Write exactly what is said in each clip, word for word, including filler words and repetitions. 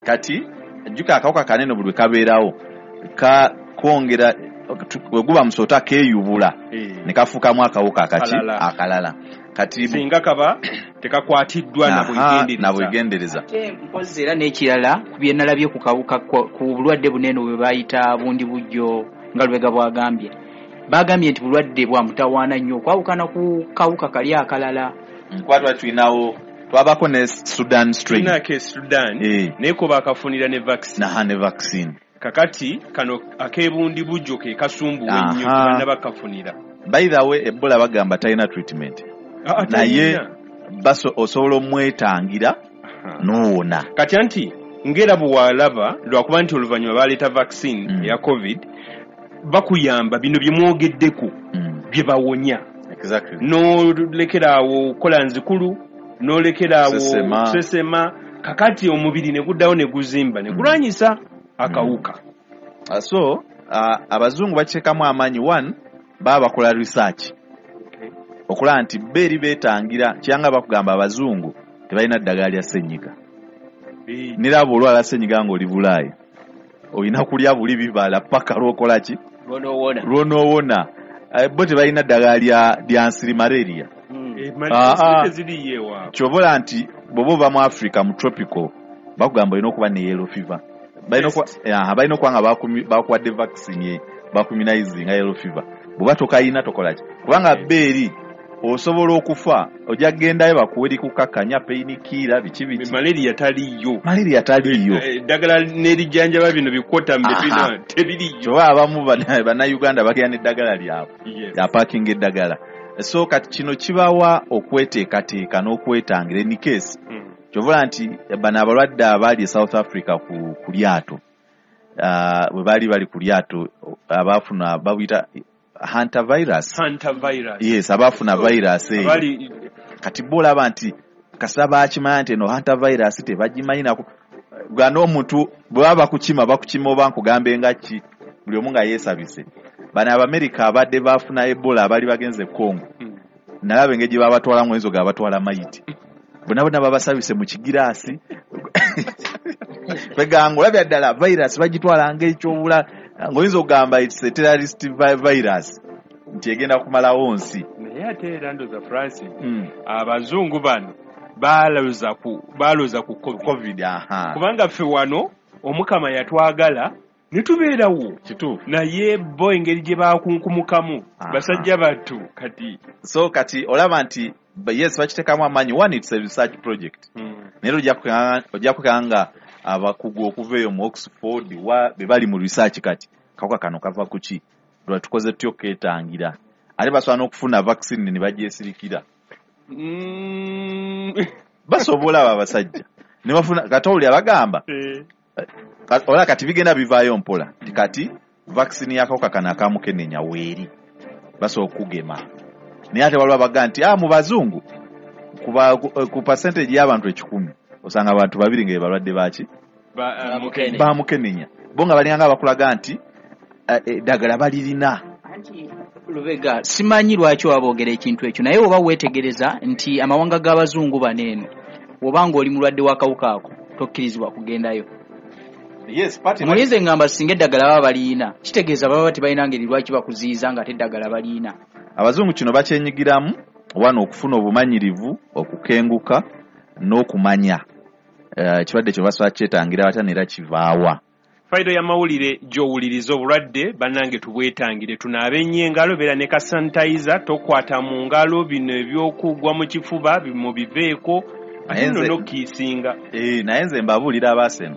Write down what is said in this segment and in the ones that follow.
Kati jjuka akawuka kanene buli kabeerawo ka kwongera bwe guba musota keeyubula Eh. ne kafuukamu akawuka akaki Akalala. Akalala. Kati Singa kaba tekakwatiddwa na Aha, bwegendereza. Na bwegendereza. Ate mpozi era n'ekirala ku bye nalabye ku kawuka kwa- ku bulwadde bunene bwe bayita bundi bujjo, nga Lubega bwagambye, bagambye nti bulwadde bwa mutawaana nnyo okwawukana ku kawuka kali akalala. Kuba twali tulinawo, twabako ne Sudan strain. Tulinako e Sudan, Eh. naye ko bakafunira ne vaccine. Naha, ne vaccine. Kakati kano ak'ebundi bujjo ke kasumbuwa ennyo, Aha. tebannaba bakafunira. By the way, Ebola bagamba talina treatment, Ah, naye talina. baso osobola omwetangira Aha. n'owona. Kati anti ngera bwe walaba, lwakuba nti oluvannyuma baleeta vaccine Mm. eya COVID, bakuyamba bino bye mwogeddeko Mm. bye bawonya. Exactly. N'olekeraawo okukola nzikulu, n'olekeraawo Kusesema. kusesema, kakati omubiri ne guddawo ne guzimba ne gulwanyisa akawuka. Uh, so uh, abazungu bakiteekamu amaanyi. One, baba bakola research okulaba nti bo eri beetangira kyanga. Bakugamba abazungu tebalina ddagala lya ssenyiga. Eh, nera bw'olwala ssenyiga ng'oli Bulaayi, olina kulya buli bibala paka lwokola ki? Lwonoowona. Lwonoowona. Eh, bo tebalina ddagala lya lya nsiri, malaria. Eh, Ah, ah. teziriyo ewaabwe. Kyobola nti bw'oba ova mu Africa mu tropical, bakugamba olina okuba ne yellow fever. Balina okuba- aha, balina okuba nga bakumi- bakuwadde vaccine bakuimmunizinga yellow fever. Bw'oba tokayina, tokola ki? Kubanga Yes. bo eri osobola okufa, ojja kugendayo bakuwe likukakkanya, painkiller, biki biki. Malaria taliyo. Malaria taliiyo. Eh, eddagala n'erijjanjaba bino bikwota Aha. tebiriyo. Kyoba abamu bana- bannayuganda bagenda n'eddagala lyabwe, Yes. apakinga eddagala. So kati kino kibawa okweteekateeka n'okwetangira in case. Mm. Kyovola nti bano abalwadde abaali e South Africa ku, ku lyato, uh, bwe baali bali ku lyato, abaafuna babuyita hantavirus. Hantavirus. Yes, abaafuna virus eyo. Abali Kati bo olaba nti kasita bakimanya nti eno hantavirus tebagimanyi nako ga n'omuntu bwe baba bakukima, bakukima oba nkugambe nga ki, buli omu nga yeesabise. Bano Abamerika abadde baafuna Ebola abaali bagenze e Congo, Mm. nalaba engeri gye babatwalamu, oyinza ogamba batwala mayiti, bonna bonna babasabise mu kigiraasi. Kweganga olabya ddala virus bagitwala ng'ekyobula, ng'oyinza okugamba it's a terrorist vi- virus nti egenda kumalawo nsi. Naye ate era ndoza, Francis, Mm. abazungu bano baloza ku baloza ku COVID. COVID, aha. Kubanga ffe wano Omukama yatwagala ne tubeerawo. Kituufu. Naye bo engeri gye bakunkumukamu, Aha. basajja battu kati. So kati olaba nti ba- yes, bakiteekamu amaanyi. One, it's a research project, naye ojja kukanga- ojja kukanga nga abakugu okuva eyo mu Oxford wa be bali mu research, kati kawuka kano kava ku ki, lwa tukoze tutya okukeetangira? Ate basobola n'okufuna vaccine ne bagyesirikira. Mm. Basobola abo abasajja ne bafuna. Kati owulira bagamba Eh, ka- olaba kati bigenda bivaayo mpola nti kati vaccine y'akawuka kano akamukenenya weeri, basobola okugema. Naye ate waliwo abagaa nti ah, mu bazungu ku, ku, ku percentage y'abantu ekikumi osanga abantu babiri nga be balwadde baki? Ba- ah, Mukene. Bamukenenya. Bo nga balinganga bakulaga nti eh, eddagala balirina. Anti Lubega, simanyi lwaki waboogera ekintu ekyo, naye oba weetegereza nti amawanga g'abazungu bano eno, bw'oba ng'oli mulwadde w'akawuka ako, tokkirizibwa kugendayo. Yes, party. Mulinze ngamba singa eddagala baba baliyina, kitegeeza baba tebalina ngeri lwaki bakuziyiza nga ate eddagala baliyina. Abazungu kino bakyenyigiramu wano okufuna obumanyirivu, okukenguka n'okumanya Eh, ekirwadde kyo basobola kyetangira batya neera kivaawa. Fayiro y'amawulire gy'owuliriza. Obulwadde bannange tubwetangire, tunaabe nnyo engalo, beera ne ka sanitizer, tokwata mu ngalo, bino ebyokugwa mu kifuba mubiveeko, ate Naye nno nze- n'okkiisinga. Eh, naye nze mbabuulira, abaaseno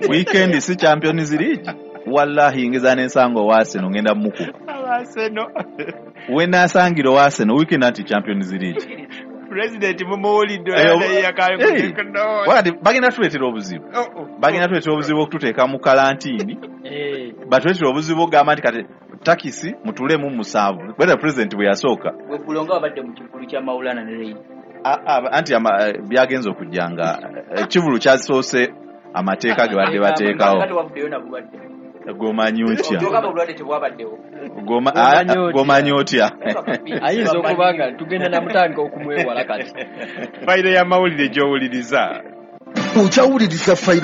weekend si Champions League, wallahi ngeza n'ensanga owaaseno ngenda mukuba. Abaaseno. Wenaasangira owaaseno weekend anti Champions League. Pulezidenti mumuwulidde. Eh, eh, wakati bagenda tuleetera obuzibu, bagenda tuleetera obuzibu okututeeka mu kalantiini, batuleetera obuzibu okugamba nti kati takisi mutulemu musanvu, whether president bwe yasooka. Weggulo nga babadde mu kivulu kya Maulana ne Reid. A- a- anti ama- eh, byagenze okujja nga eh, ekivulu kyasoose amateeka ge badde bateekawo. Kati wavuddeyo na bulwadde. Gomanyi otya? Ogamba obulwadde tebwabaddewo. Goma- Gomanyi a- a- otya? Gomanyi otya? Ayinza okuba nga tugenda namutandika okumwewala kati. Fayiro y'amawulire gy'owuliriza. Okyawuliriza Fayiro.